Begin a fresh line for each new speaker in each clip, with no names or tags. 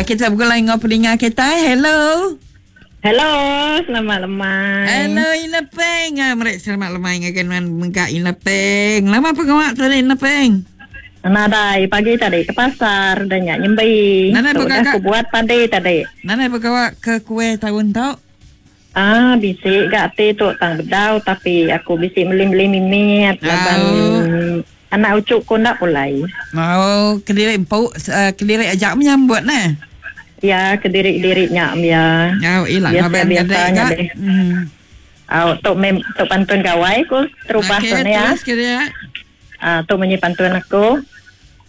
Ya kita begulai enggau peninga kita. Hello.
Hello, selamat lemai.
Hello Ina Peng. Ah, meri selamat lemai ngagai nuan mega Ina Peng. Lama pengawa tadi Ina Peng?
Nadai pagi tadi ke pasar dah nya nyembi.
Nadai
Tu udah
begaga.
aku buat padi tadi.
Nadai begawa ke kuih taun tu?
Ah, bisi ga ati tu tang bedau tapi aku bisi meli-meli mimit laban
Au.
anak uchu ku enda pulai.
Au, kediri empu eh, kediri aja menyambut neh.
Ya, kediri-diri nya ya.
Au, ila ngaban
Biasa-biasa
kediri
nya
ga.
deh.
Hmm.
Au, tu mem tu pantun gawai ku terubah
Okey,
tu ne ya.
terus ke dia.
Ah, tu munyi pantun aku.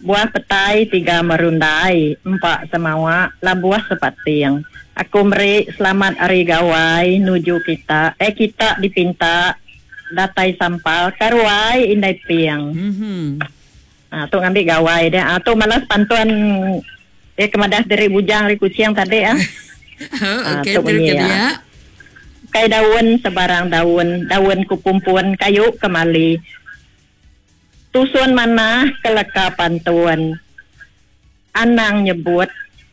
Buah petai tiga merundai, empa semawa labuh sepating. Aku meri selamat hari gawai nuju kita, eh kita dipinta datai sampal ka ruai indai ping.
Mhm.
Ah, tu ngambi gawai dia. Ah, tu malas pantun eh ke madah diri bujang ari Kuching tadi ah.
Oh,
Ah,
okey,
tu
terus
munyi
ke
ah.
dia.
Kai daun sebarang daun, daun ku pumpun kayu kemali. Tusun manah ke leka pantun. Anang nyebut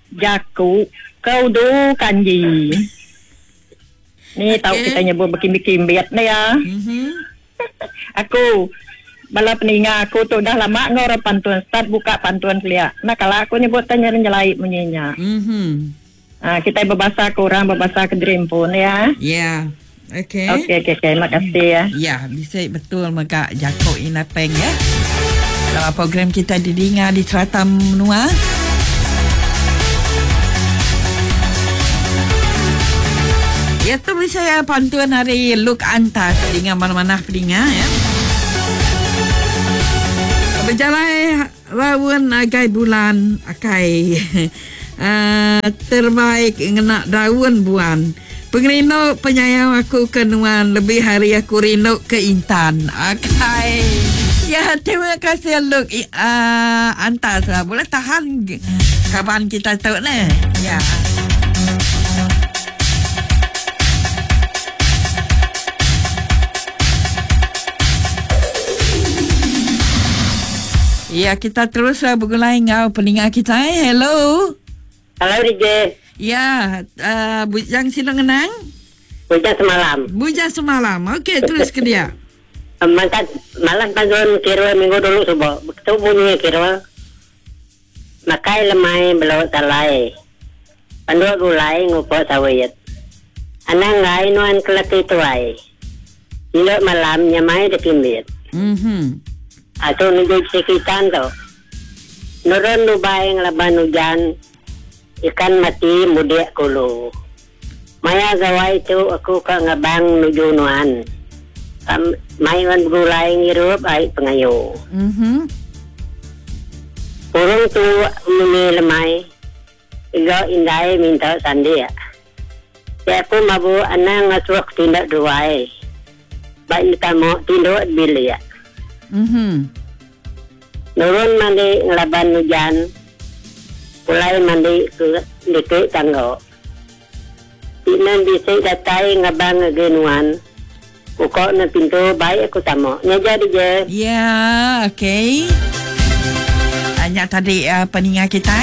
jaku ke udu kanji. Ni tau
Okey.
kita nyebut bekimbit-kimbit ni ya.
Mhm.
Aku bala peninga aku tu dah lama enggau orang pantun start buka pantun kelia. Enda kala aku nyebut tanya nyelai munyi nya.
Mhm.
Ha, kita berbahasa ke orang berbahasa ke diri empu ni ya.
Ya. Okey.
Okey okey okey terima kasih ya.
Ya, bisa betul mega jaku Ina Peng ya. Dalam program kita didengar di serata menua. Ya tu bisa ya pantun hari Luke Antas dengan mana-mana peninga ya. Berjalan raun agai bulan akai terbaik ngena daun buan. Pengerindu penyayau aku ke nuan lebih hari aku rindu ke intan. Akai. Ya, terima kasih Luke Antas. Boleh tahan kawan kita tu ni. Ya. Ya, kita terus bergulai dengan pendengar kita. Eh. Hello.
Hello DJ.
Ya, Bujang sino ngenang?
Bujang semalam.
Bujang semalam. Okey, terus ke dia.
Mantap malam pantun kira minggu dulu subuh. Begitu bunyi kira. Makai lemai belau talai. Panduk gulai ngupok sawit. Anang ngai nuan kelati tuai. Nilok malam nyamai dekimbit.
Mhm.
Atau nunggu sekitan tu. Nurun lubai ngelaban hujan. Ikan mati mudik kulu. Maya gawai tu aku ke ngabang nuju nuan. Mai wan bergulai ngirup ai pengayu.
Mhm.
Burung tu muni lemai. Iga indai minta sandi. Ya aku mabu anang ngasuak tindak duai. Baik tamu tinduk bilik.
Mhm.
Nurun mandi ngelaban hujan. Pulai mandi ke dikit tanggo. Tinan bisik datai ngabang ngegenuan. Pukok na pintu baik aku tamu. Nya jadi je.
Ya, okey. Hanya tadi pendengar kita.